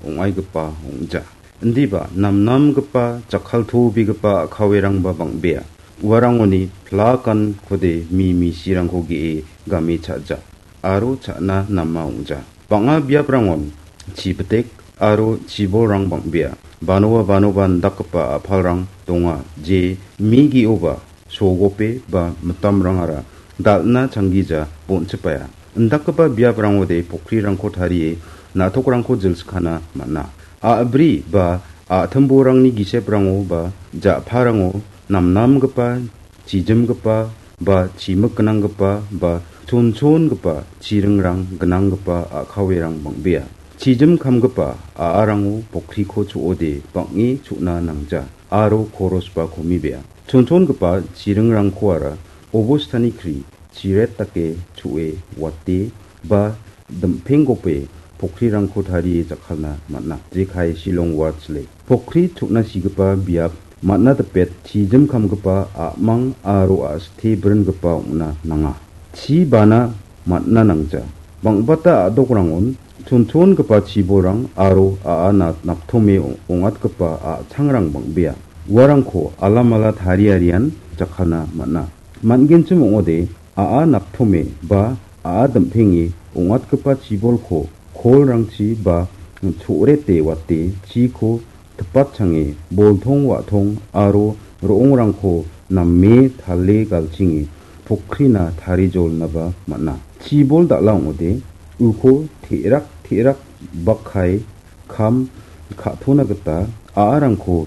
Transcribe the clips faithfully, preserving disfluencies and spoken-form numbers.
ong·aigipa ong·ja. Indiba namnamgipa jakkaltobegipa a·kawerangba bang·bea. Uarangoni plakan kode mi misirangko ge·e game cha·ja aro cha·na nama ong·ja. Bang·a biaprangon chibitek aro chibolrang bang·bea. Banoa banoba indakgipa a·palrang donga, je mi ge·oba sogope ba mitamrangara dal·na changgija bonchipaia. Indakgipa biaprangode pokrirangko tarie na·tokrangko jilskana man·a. A·bri ba a·timborangni giseprango ba ja·parango namnamgipa, chijimgipa ba chimik gnanggipa ba chonchongipa chiringrang gnanggipa a·kawerang bang·bea. Chijim kamgipa a·arango pokriko cho·ode bang·e cho·na nangja aro korosba komibea. Chonchongipa chiringrangkoara obostani kri chiret dake cho·e wate ba dim·penggope pokrirangko tarie jakkalna man·a. Jekai Shillong Watch Lake. Pokri cho·na sigipa biap man·a dipet chijim kamgipa a·mang aro a·site bringipa ong·na nanga. Chi bana man·na nangja. Bang·bata a·dokrangon chonchongipa chibolrang aro a·a na-, naptome ong-, ong·atgipa a·changrang bang·bea. Uarangko alamala tariarian jakkalna man·a. Man·genchim ong·ode a·a naptome ba a·a dim·penge ong·atgipa chibolko kolrangchi ba cho·rete wate chiko tipatchange boltong wa·tong aro ro·ongrangko name tale galchinge pokrina tarijolnaba man·a. Chibol dal·a ong·ode uko te·rak te·rak bakkai kam ka·tona gita a·arangko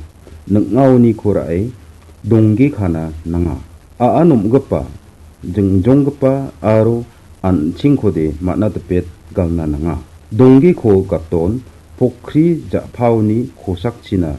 ning·aoniko ra·e dongge kana nanga. A·a nomgipa, jingjonggipa aro an·chingkode man·a dipet galna nanga. Donggeko gaton pokri ja·paoni kosakchina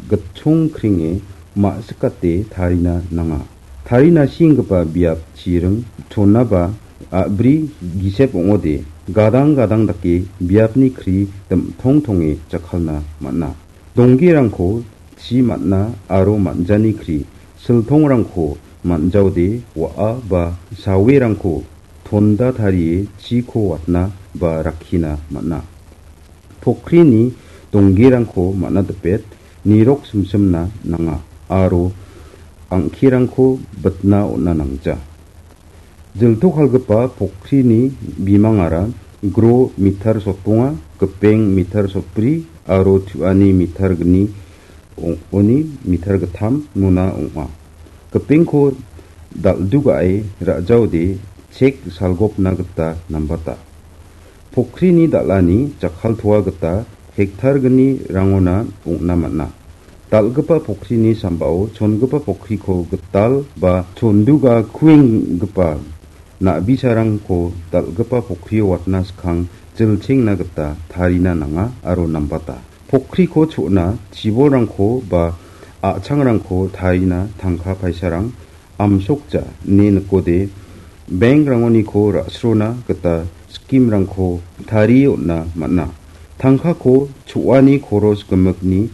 gitchong kringe ma·sikate tarina nanga. Tarina senggipa biap chiring chonaba a·bri gisep ong·ode gadang gadang dake biapni kri dim·tong tonge jakkalna man·a. Donggerangko chi man·a aro man·jani kri, siltongrangko man·jaode wa·a ba sawerangko tonda tarie chiko watna ba rakkina man·a. Pokrini donggerangko man·a dipet nirok simsimna nanga aro angkirangko bitna on·a nangja. Jiltokalgipa pokrini bimangara gro mitar sotbonga, gipeng mitar sotbri aro tu·ani mitar gni ong-, oni mitar gittam mona ong·a. Gipengko dal·dugae ra·jaode chek salgopna gita nambata. Pokrini dal·ani jakkaltoa gita hektar gni rangona ong·na man·a. Dal·gipa pokrini sambao chongipa pokriko gital ba chonduga kuenggipa na·bisarangko dal·gipa pokrio watna skang jilchengna gita tarina nanga aro nambata. Pokriko cho·na chibolrangko ba a·changrangko tarina tangka paisarang amsokja ine nikode, bank-rangoniko ra·srona gita scheme-rangko tarie on·a man·a. Tangkako cho·ani koros gimikni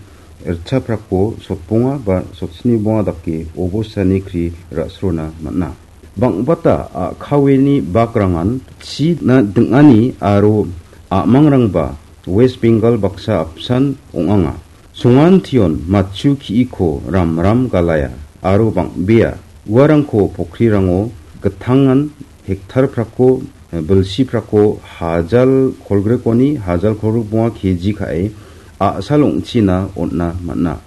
ritchaprako sotbonga ba sotsni bonga dake obostani kri ra·srona man·a. Bang·bata a·kaweni bakrangan china ding·ani aro a·mangrangba West Bengal baksa apsan ong·anga. Songan tion matchu ki·iko ramram galaia aro bang·bea uarangko pokrirango gittangan hektar prako, bilsi prako hajal kolgrikoni hajal kolgrik bonga keji ka·e a·sal ong·china on·na man·a.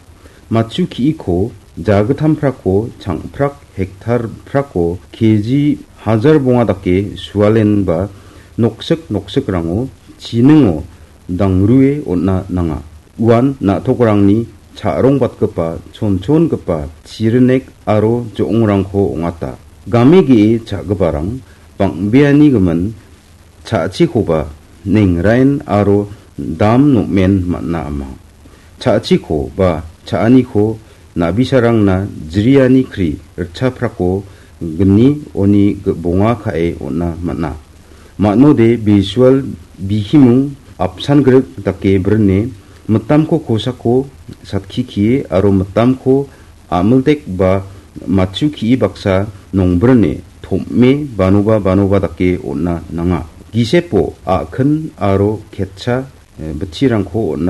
Matchu ki·iko jagittam prako changprak hektar prako keji hajar bonga dake sualenba noksik noksik rango chiningo dangrue on·a nanga. Uan na·tokrangni cha·rongbatgipa chonchongipa chirinek aro jo·ongrangko ong·ata. Game ge·e cha·giparang bang·beanigimin cha·chikoba neng rain aro dam nom·en man·a ama. Cha·chiko ba cha·aniko na·bisarangna jriani kri ritchaprako gni oni bonga ka·e on·a man·a. Manode bisual bihimung apsan grik dake brine mitamko kosako satkikie aro mitamko amildek ba matchu ki·i baksa nongbrine tom·e banoba banoba dake on·a nanga. Gisepo a·kin aro ketcha, eh, bitchirangko on·a